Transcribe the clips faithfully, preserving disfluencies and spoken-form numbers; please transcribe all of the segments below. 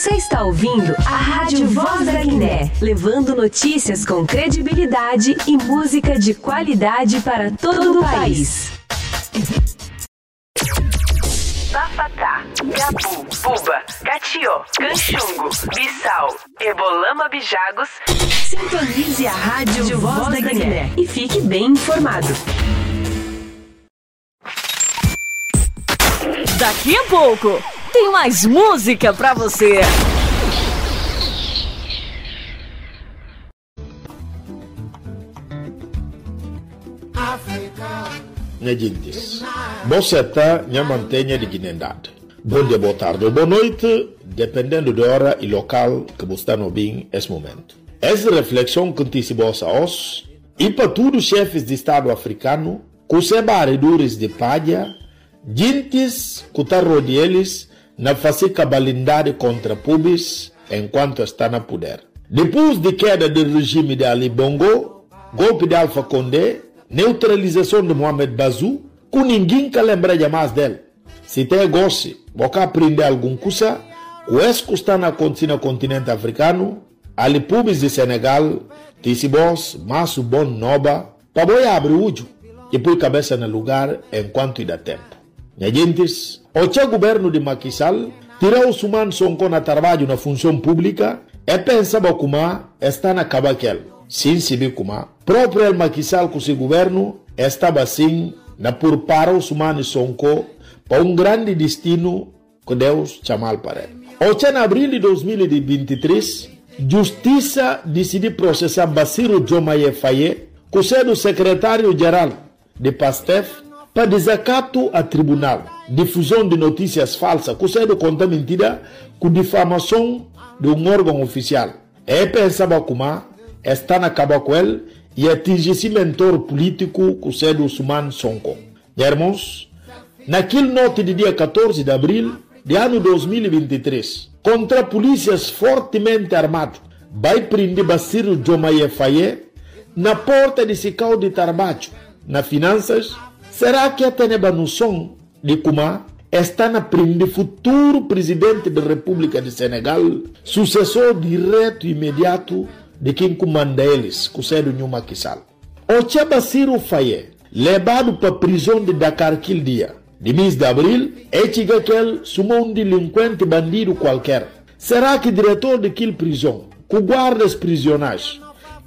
Você está ouvindo a Rádio Voz da Guiné, levando notícias com credibilidade e música de qualidade para todo o país. Bafata, Gabu, Buba, Katió, Kanxungu, Bisau, Ebolama, Bijagos. Sintonize a Rádio Voz da Guiné e fique bem informado. Daqui a pouco tem mais música pra você. Nha jintis, bo seta, nha manteña di ginendad. Bon dia, boa tardi o boa noiti, dependendu di ora i lokal ki bo sta na obin es mumentu. Es reflekson ki N tisi bos aos, i pa tudu xefis di Stadu afrikanu, ku se bariduris di padja, jintis ku ta rodi elis na fasi kabalindadi kontra pubis enkuantu e sta na puder. Dipus di keda di rejimi di Ali Bongo, golpi di Alfa Konde, neutralizason di Mohamed Bazoum, ku ningin ka lembra ja mas del. Si te gosi bo ka prindi algun kusa ku es ku sta na akontisi na kontinenti afrikanu, Ali pubis di Senegal tisi bos mas bon noba pa bo yabri uju i pui kabesa na lugar enkuantu i da tempu. Nha jintis, oca guvernu di Macky Sall tira Ousmane Sonko na tarbaju na funson publika, e pensaba kuma e sta na kaba kel, sin sibi kuma propri el Macky Sall ku si guvernu e staba sin na purpara Ousmane Sonko pa un grandi distinu ku Deus camal pa el. Oca na abril di dos mil e vinte e tris, justisa disidi prosesa Bassirou Diomaye Faye, ku sedu sekretariu jeral di Pastef, pa dizakatu a tribunal, difuzon di notisias falsa, ku sedu konta mintida, ku difamason di un organ ofisial. E pensaba kuma e sta na kaba ku el i atinji si mentor pulitiku, ku sedu Ousmane Sonko. Nha irmons, na kil noti di dia katorzi di abril di anu dos mil e vinte e tris, kontra pulisias fortimenti armadu bai prindi Bassirou Diomaye Faye na porta di si kau di tarbaju na finansas, sera ke e teneba noson di kuma e sta na prindi futuru Prizidenti di Repúblika di Senegal, susesor diretu i imediatu di kin ku manda elis, ku sedu Nhu Macky Sall? Oca Bassirou Faye lebadu pa prizon di Dakar kil dia di mis di abril, e ciga kel suma un dilinkuenti bandidu kualker. Sera ki diretor di kil prizon, ku guardas prizionais,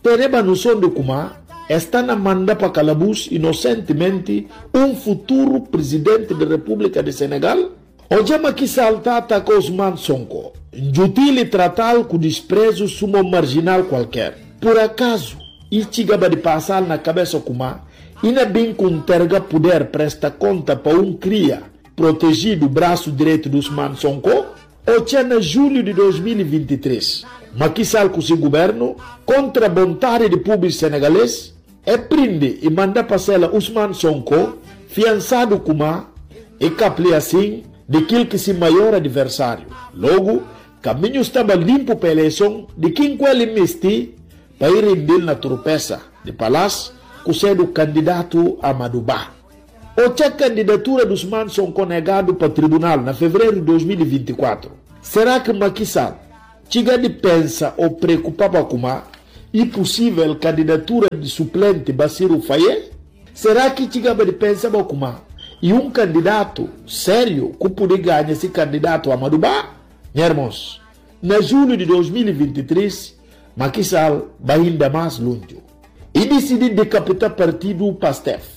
teneba noson di kuma e sta na manda pa kalabus inosentimenti un futuru Prizidenti di Repúblika di Senegal? Oca Macky Sall ta ataka Ousmane Sonko, njutil i tratal ku disprezu suma un marjinal kualker. Pur akazu i cigaba di pasal na kabesa kuma i na bin ku nterga puder, presta konta pa un kria protejidu, brasu diretu di Ousmane Sonko? Oca na julhu di dos mil e vinte e tris, Macky Sall ku si guvernu, kontra bontadi di pubis senegales, e prindi i manda pa sela Ousmane Sonko, fiansadu kuma i kapli asin di kil ki si maior adversariu. Logu, kamiñu staba limpu pa eleison di kin ku el i misti pa i rindil na trupesa di Palas, ku sedu kandidatu Amadou Ba. Oca kandidatura di Ousmane Sonko negadu pa tribunal na fevereru di dos mil e vinte e kuatru, sera ki Macky Sall ciga di pensa o preokupaba kuma i pusivel kandidatura di suplenti Bassirou Faye? Sera ki cigaba di pensaba kuma i un kandidatu seriu ku pudi gaña si kandidatu Amadou Ba? Nha irmons, na julhu di dos mil e vinte e tris, Macky Sall bai inda mas lunju. I disidi dekapita partidu Pastef.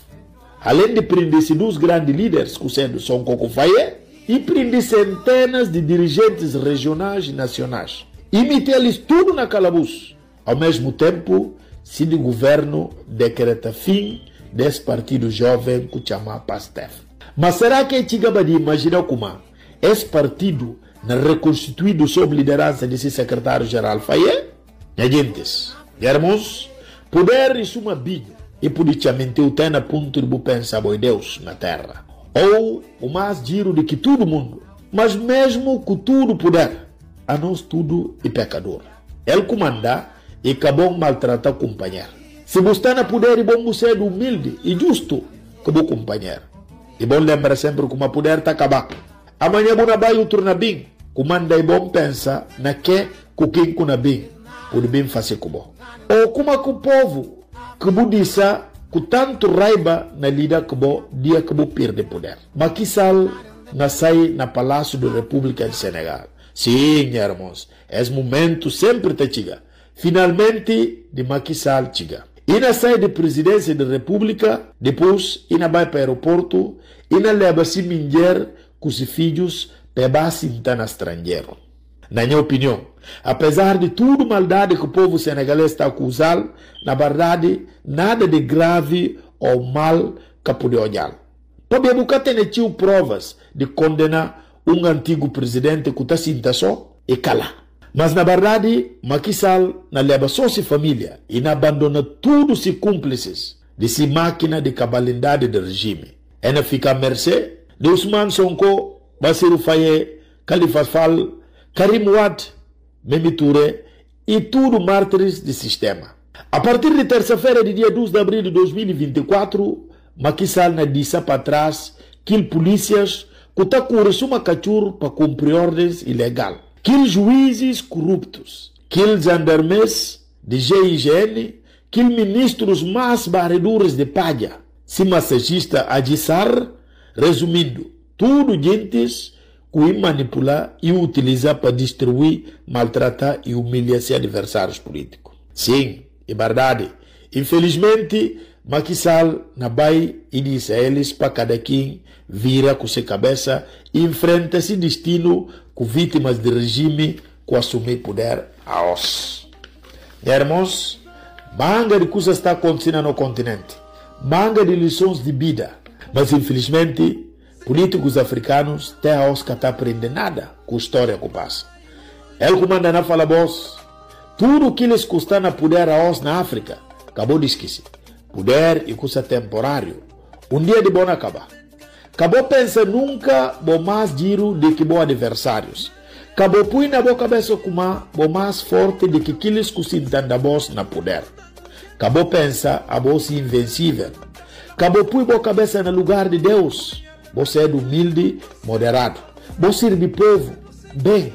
Alen di prindi si dus grandi liders, ku sedu Sonko ku Faye, i prindi sentenas di dirijentis rejionais i nasionais, i miti elis tudu na kalabus. Au mesmu tempu, sindi guvernu dekreta fin des partidu joven ku cama Pastef. Ma sera ke cigaba di imajina kuma es partidu na rekonstituidu sob lideransa di si sekretariu jeral Faye? Nha jintis, nha irmons, puder i suma biñu, i pudi camintiu te na puntu di bu pensa bo i Deus na tera, ou bu mas jiru di ki tudu mundu. Mas mesmu ku tudu puder, anos tudu i pekadur. El ku manda i ka bon maltrata kumpañer. Si bu sta na puder i bon bu sedu umildi i justu ku bu kumpañer. I bon lembra sempri kuma puder ta kaba. Amaña bu na bai, utru na bin. ku manda i bon pensa na ke ku kin ku na bin pudi bin fasi ku bo. O kuma ku povu ku bu disa ku tantu raiba na lida ku bo dia ku bu pirdi puder. Macky Sall na sai na Palácio de República de Senegal. Sin, nha irmons, es mumentu sempri ta ciga. Finalmenti, di Macky Sall ciga. I na sai di Prezidensia di Repúblika, dipus i na bai pa aeroportu, i na leba si minjer ku si fijus pa e ba sinta na stranjeru. Na nha opinion, apezar di tudu maldadi ku povu senegales ta akuzal, na bardadi, nada di gravi o mal ka pudi ojal. Pabia bu ka tene ciu provas di kondena un antigu prezidenti ku ta sinta so i kala. Mas na bardadi, Macky Sall na leba so si familia i na bandona tudu si kumplisis di si makina di kabalindadi di rejimi. E na fika a merse di Usman Sonko, Basiru Faye, Khalifa Fall, Karim Wade, Mimi Touré i tudu martiris di sistema. A partir di tersa-fera di dia dus di abril di dos mil i vinti kuatru, Macky Sall na disa pa tras kil pulisias ku ta kuri suma kacur pa kumpri ordens ilegal, kil juizis kuruptus, kil jandarmes di G I G N, kil ministrus mas bariduris di paja, si masajista Adji Sarr, rezumindu, tudu jintis ku i manipula i utiliza pa distrui, maltrata i umilia si adversarius pulitiku. Sin, i bardadi. Infelismenti, Macky Sall na bai i disa elis pa kada kin vira ku si kabesa i nfrenta si distinu ku vitimas di rejimi ku asumi puder aos. Nha irmons, manga di kusas ta kontisi na no kontinenti, manga di lisons di bida, mas infelismenti, pulitikus afrikanus te aos ka ta prende nada ku storia ku pasa. El ku manda na fala bos, tudu kilis ku sta na puder aos na Afrika, ka bo diskisi. Puder i kusa temporariu. Un dia di bo na kaba. Ka bo pensa nunka bo mas jiru di ki bo adversarius. Ka bo pui na bo kabesa kuma bo mas forti di ki kilis ku sinta nda bos na puder. Ka bo pensa abo si invensivel. Ka bo pui bo kabesa na lugar di Deus. Bo sedu umildi, moderadu. Bo sirbi povu ben.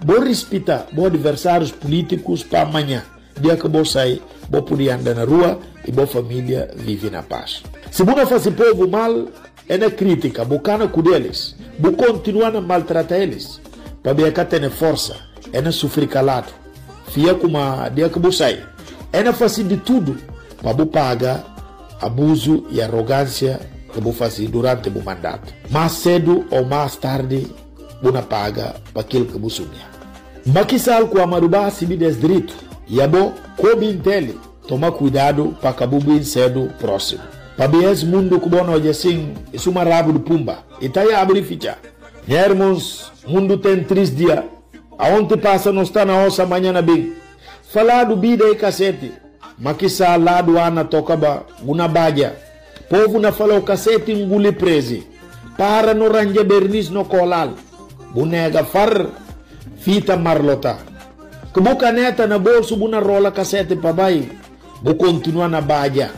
Bo rispita bo adversarius pulitikus pa manya, dia ke bo sai, bo pudi anda na rua i bo familia vivi na pas. Si bu na fasi povu mal, e na kritika, bu kana ku delis, bu kontinua na maltrata elis, pabia e ka tene forsa, e na sufri kaladu. Fia kuma dia ke bu sai, e na fasi di tudu pa bu paga abuzu i arogansia ke bu fasi durante bu mandatu. Mas sedu o mas tardi, bu na paga pa kil ke bu sumia. Macky Sall ku Amadou Ba sibi des diritu, i abo ko bin teli, toma kuidadu pa ka bu bin sedu prosimu. Pabia es mundu ku bo na oja sin, i suma rabu di pumba, i ta yabri fica. Nha irmons, mundu ten tris dia, aonti pasa no sta na osa, manya na bin. Faladu bida i kaseti, Macky Sall ladu a na toka ba, bu na baja. Povu na fala o kaseti nguli prezi. Para no ranja bernis no kolal. Bu nega far, fita marlota. Ke bu kaneta na bolsu bu na rola kaseti pa bai. Bu kontinua na baja.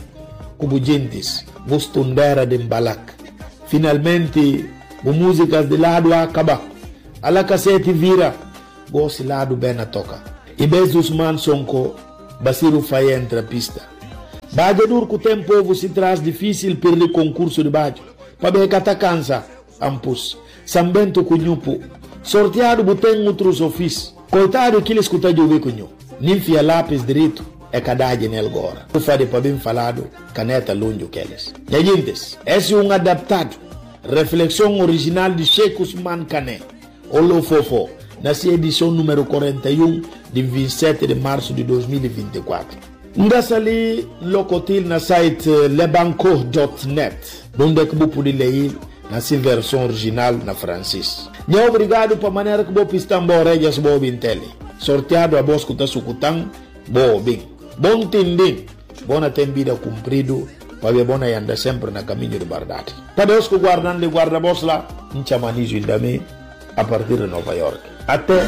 Ku bu jintis, bu stundera di mbalak. Finalmenti, bu muzikas di ladu a kaba. Ala kaseti vira. Gosi ladu ben na toka. I bes Usman Sonko, Basiru Faye entra pista. Bajadur ku ten povu si tras difisil pirdi konkursu di baju. Pabia e ka ta kansa, ampus. Sambentu ku nyupu. Sortiadu bu ten utrus ofis. Koitadu kilis ku ta jubi ku nyu. Nin fia lapis diritu, e ka daji nel gora. Ku fadi pa bin faladu, kaneta lunju kelis. Nha jintis, esi un adaptadu. Reflekson orijinal di Sheikh Usman Kane. Olo Fofo, na si edison numeru kuarenta i un, di vinte e sete de marsu di dos mil e vinte e kuatru. N da sali lokotil na site, eh, lebanco dot net, nunde ke bu pudi lei na si verson orijinal na fransis. Nha obrigadu pa manera ke bo pistan bo orejas bo bin teli. Sortiadu abos ku ta sukutan bo bin. Bon tindin. Bo na ten bida kumpridu, pabia bo na yanda sempri na kamiñu di bardadi. Pa Deus ku guardan di guarda bos la, N chama Nizu Indami, a partir di Nova York. Ate